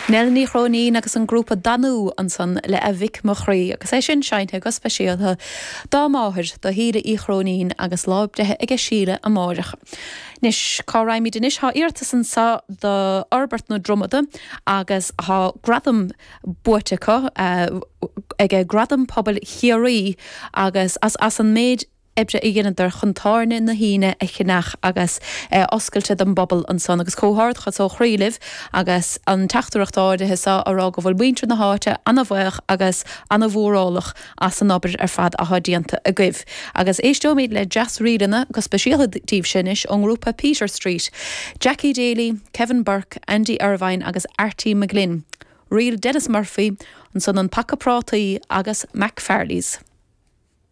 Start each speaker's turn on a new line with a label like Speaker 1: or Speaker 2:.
Speaker 1: Nell Ní Chróinín agus an grúpa Danú ansan le A Mhic Mo Chroí agus é sin seinnte go speisialta dá máthair, do Shíle Uí Chróinín agus lá breithe aige Síle amáireach. Anois, cá raghaimid anois? Tá iarratas anso do Fhorbairt na Dromada agus tá gradam buaite acu aige Gradam Pobail Chiarraí agus as as an méid oibre a dheineadar chun Tábhairne na hAoine a cheannach agus é oscailte don bpobal ansan agus comhghairdeachas ó chroí libh agus an teachtaireacht áirithe seo á rá go bhfuil muintir na háite ana-bhaoch agus ana-mhórálach as an obair ar fad athá déanta agaibh. Agus éisteoimid le deas-ríleanna go speisialta daoibhse anois ón ngrúpa Peter Street, Jackie Daly, Kevin Burke, Andy Irvine agus Artie McGlynn, Ríl Denis Murphy, ansan An Paca Prátaí agus McFarley's.